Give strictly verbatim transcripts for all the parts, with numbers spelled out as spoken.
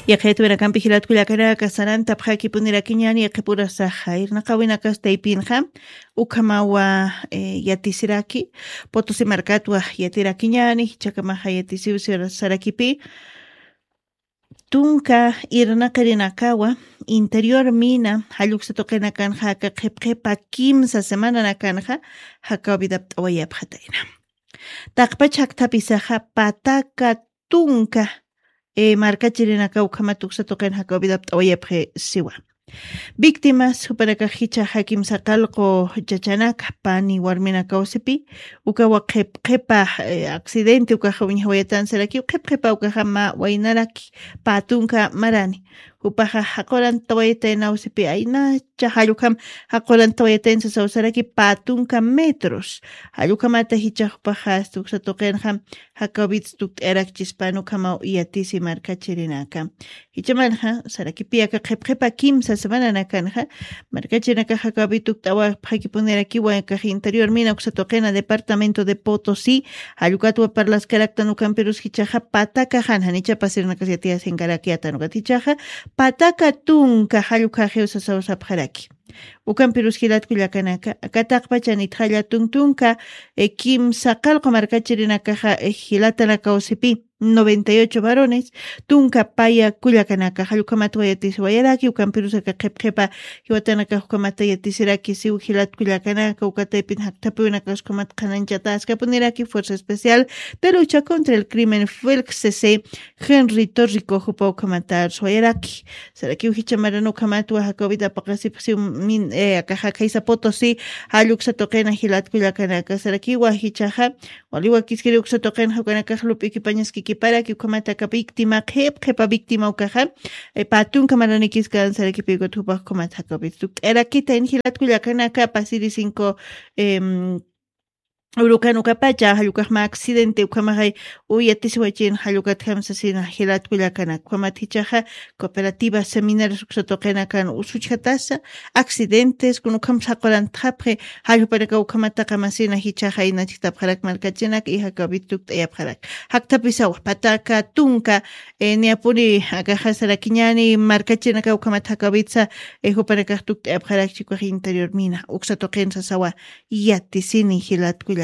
Yaqhayat wirakampi jilatkullakanaka sarantapxakipunirakiñani yaqhipurasaxa irnaqawinakas taypinxa ukhamawa yatisiraki. Potosi markatwa yatirakiñani jichhakamaxa yatisiw sarakipi tunka irnaqirinakawa interior mina jalluksa tuqinakanxa aka qhipqhipa kimsa semananakanxa jakawbidapt'awayapxatayna. Taqpach jakthapisaxa pataka tunka markachirinaka ukhamat uksa tuqin jakawbidapt'awayapxi siwa. Víctimas jupanakax jichhaxa kimsa qallqu chachanaka pani warminakawsipi ukawa qhipqhipa accidente ukaxa wiñjawayatansirakiw qhipqhipa ukaxa mä waynaraki pä tunka marani jupaxa jaqurantawayataynawsipi aynacha jallukham jaqurantawayataynsa sawsaraki pä tunka metros. Jallukhamata jichhax jupaxa asta uksa tuqinxa jakawbits tukt'ayarakchispan ukhamaw yatisi markachirinaka. Jichhamanxa sarakipi aka qhipqhipa kimsa semananakanxa markachirinakax jakawbit tukt'awapxakipunirakiwa kax interior mina uksa tuqina departamento de Potosi jallukatwa parlaskaraktan ukampirus jichhaxa pataka jan janicha pasirinakas yatiyasinkarak yatan ukat jichhaxa pataka tunka jallukhaxiw sasawsapxaraki. Ukampirus jilatkullakanaka kataqpachanitxalla tuntunka kimsa qallqu markachirinakaxa jilatanakawsipi noventa y ocho varones tunka paya kullakanaka jallukhamat wayatis wayaraki ukampirus aka qhipqhipa jiwatanakax ukhamata yatisiraki siw jilatkullakanaka ukataypin jakthapiwinakas ukhamat qhanañchataskapuniraki fuerza especial de lucha contra el crimen felxcc Henry Torrico jupa ukhamata arswayaraki. Sarakiw jichha maran ukhamatwa jakawbit apaqasipxsiw akaxa khaysa Potosi jalluksa tuqina jilatkullakanaka sarakiwa jichhaxa waliwa kiskiri uksa tuqinxa ukanakax lup'ikipañaskikiparaki ukhamata aka víctima qhipqhipa víctima ukaxa pä tunka maranikiskan sarakipi ukat jupax ukhamat jakawbit tukt'ayarakita in jilatkullakanaka pasiri cinco urukan ukapacha jallukaxma accidente ukhamaxay uyatisiwachin jallukatjam sasina jilatkullakanaka ukhamat jichhaxa cooperativa seminarios uksa tuqinakan usuchjatasa accidentes kun ukham saqurantxapxi. Jallupanaka ukhamata qamasina jichhaxa inachktapxarak markachinak y jakawbit tukt'ayapxarak jakthapisawa pataka tunka niyapuni akaxa sarakiñani markachirinaka ukhamat jakawbitsa jupanakax tukt'ayapxarak chikuxa interior mina uksa tuqin sasawa. Yatisini jilatkullakanaka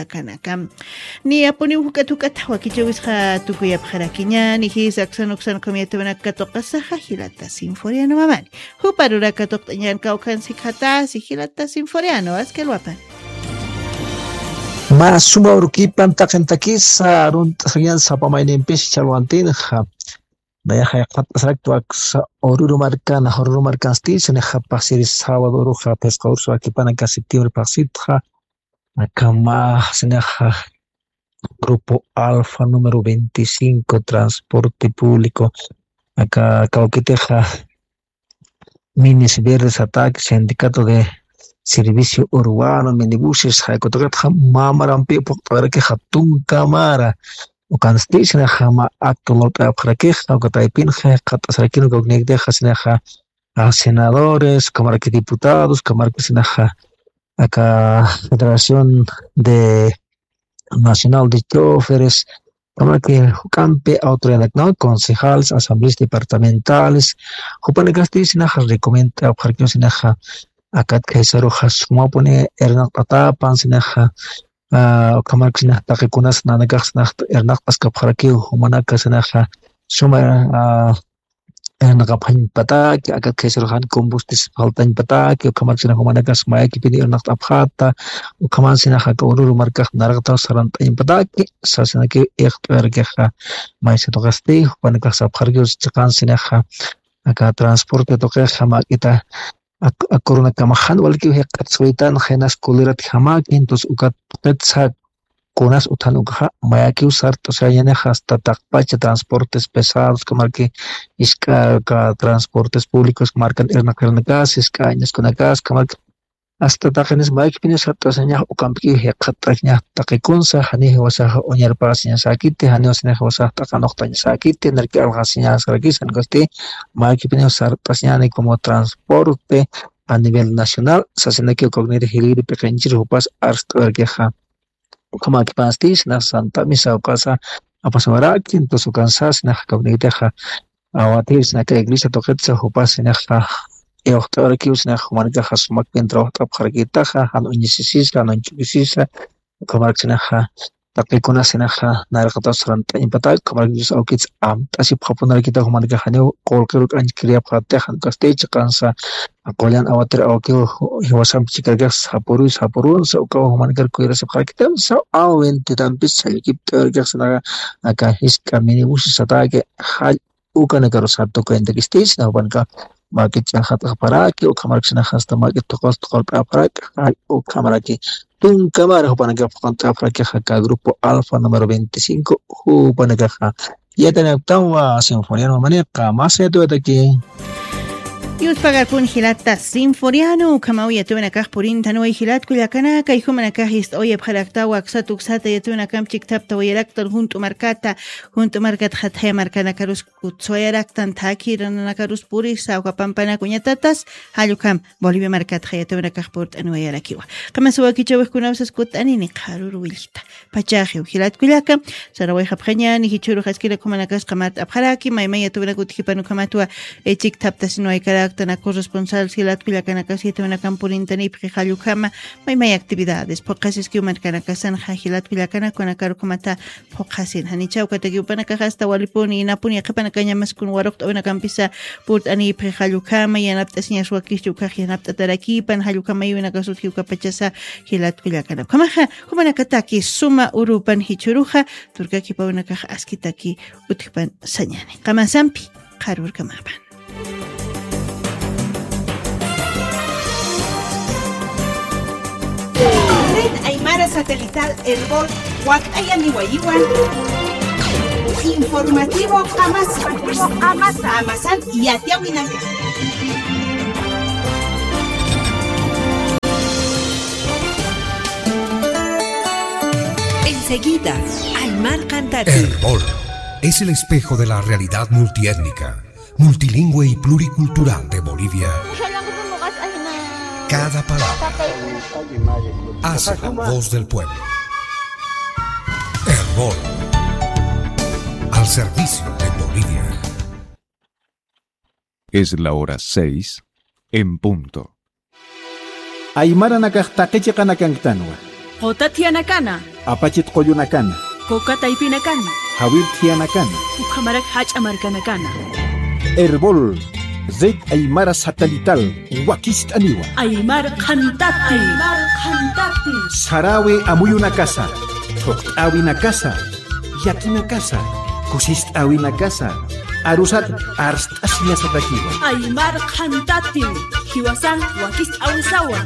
niyapuniw juk'at juk'at wakichawisqa tukuyapxarakiñani jisa aksan uksan ukham yatiwinak katuqasaxa jilata sinforiano mamani jupa ruraka tuqt'añan kawkhan sikxatasi jilata sinforiano askalwapan. Mä suma urukipan taqintakisa arunt'asañan sapa maynimpis chalwantinxa nayaxa yaqhat'asarakt waksa ururu markan ururu markansti sinixa paqsiri sábado uruxa phisqa ursu akipana ka septiembre paqsitxa akama sinixa grupo alfa número veinticinco transporte público aka kawkitixa minis verdes ataque sindicato de servicio urbano minibuses jaykutaqitxa mamarampi puqt'arakixa tunkamara ukansti sinaxa mä acto lawt'ayapxarakixa ukataypinxa jaqat'asarakin ukawkniyaktixa sinaxa senadores ukamaraki diputados ukamaraki sinaxa aka federación de nacional de choferes ukamaraki juk'ampi autoridadnak no concejales asambleas departamentales jupanakasti sinaxa recomienda apxarkiw sinaxa akat khaysaruxa sumapuni irnaqt'atapan sinaxa ukamaraki sinax taqikunas nanakax sinax irnaqt'askapxarakiw jumanaka sinaxa suma irnaqapxañpataki akat khaysaruxan combustis faltañpataki ukhamarksinax jumanakas mayakipini irnaqt'apxata ukhaman sinax aka ururu markax naraqtaw sarant'añpataki sasinaki iqt'uyarkixa. Maysa tuqasti jupanakax sapxarkiw chiqan sinaxa aka transporte tuqixa mak'ita akurunakamaxan walikiw jiqat suytan jinas kulirat jamaki entonces ukat tuqitsa kunas uthan ukaxa mayakiw sart'usañanixa hasta taqpacha transportes pesados kamarki isk'a transportes públicos markan irnaqirnakas isk'a añaskunakas kamarki hasta taqinis mayakipiniw sart'usañax ukampikiw jiqat'añax taqikunsa janiw jiwasaxa uñarpasiñasäkiti janiw sinax jiwasax t'aqanuqtañasäkiti narki alqasiñasarakis janikasti mayakipiniw sart'asiñani como transporte a nivel nacional sasinaki ukawniri jiliri piqinchir jupas arst'uwarkixa. Ukhamakipansti sinax santa misa ukasa apasuwaraki entonces ukansa sinax kawnikitixa Awatir sinaxa iglesia tuqitsa jupas sinaxa, iwxt'awarakiw sinaxa jumanakaxa sumak bien trabajt'apxarakitaxa, jan uñisisisa, jan uñch'ukisisa, ukhamarak sinaxa, taqikuna sinaxa, nayraqataw sarant'añpatak, ukhamarak Dios awkits amt'asipxapunarakita jumanakaxaniw, qullqiru k'anchkiriyapxatix, jan ukasti chiqansa, qullan awatir awkiw, jiwasampi chikarakax sapuru, sapurunsa, ukaw jumanakar kuyarasipxarakita, saw awin titampis, sallkipt'awarakixa sinaxa, aka jisk'a minibusi sataki, jall ukanakaru satukayantakisti, sina jupanakax mak'i ch'axat'apxaraki, ukhamarak sinaxa hasta mak'i tuqus tuqurt'apxaraki, jall ukhamaraki tunkamar jupanakax phuqant'apxaraki, aka grupo Alfa número veinticinco, jupanakaxa. Yatiyäwinaktanwa, Sinforiano Mamaniqa, mas yatiyäwinaki. Yuspagarpun jilata Sinforiano, ukhamaw yatiyäwinakax purintanwa jilat kullakanaka, kay jumanakax ist'awayapxaraktawa, aksat uksata yatiyäwinakamp chikthaptawayaraktan junt'u markata, junt'u markat jatjaya markanakarus kutsuwayaraktan thakhi nananakarus purisa, uka pampanak uñatatas, jall ukham Bolivia markatxa yatiyäwinakax purt'aniwayarakiwa. Qamasa wakichäwix kunapsas kutt'anini qharüru willkta. Pachaxiw jilat kullaka, sarawayxapxañäni, jichhürux askirak jumanakas qamart'apxaraki, maymay yatiyäwinak utjipan ukhamatwa, eh, chikthaptasinwaykaraktan, corresponsal jilat kullakanakas yatiyäwinakamp purintanipxi jall ukhama, maymay actividades, phuqhasiskiw markanakasanxa jilat kullakanak, kunakar ukhamata phuqhasin. Janichhaw katakiw jupanakax hasta walipuni, inapuni, yaqhipanakañamas kun waruqt'awinakampisa purt'anipxi jall ukhama, yanapt'asiñas wakischi ukax yanapt'atarakipan, jall ukhama aywinakas utji uka pachasa jilat kullakana. Ukhamaxa, jumanakataki suma urupan jichhüruxa, turkakipawinakax askitaki utjpan sañäni. Qamasampi, qharürkamapan. Red Aymara Satelital Erbol wakt'ayaniwayiwan informativo qamasa. Qamasan yatiyäwinaka. Enseguida, Aymar Cantante. Erbol es el espejo de la realidad multiétnica, multilingüe y pluricultural de Bolivia. Cada palabra hace la voz del pueblo. Erbol, al servicio de Bolivia. Es la hora seis en punto. Aymaranakax taqi chiqanakanktanwa. Quta thiyanakana. Apachit qullunakana. Kuka taypinakana. Jawir thiyanakana. Ukhamarak jach'a markanakana. Erbol, Red Aymara Satelital, wakist'aniwa. Aymar Qhantati. Aymar Qhantati. Sarawi amuyunakasa, thuqt'äwinakasa, llakinakasa, kusist'äwinakasa, arusat arst'asiñasatakiwa. Aymar Qhantati, jiwasan wakist'äwisawa.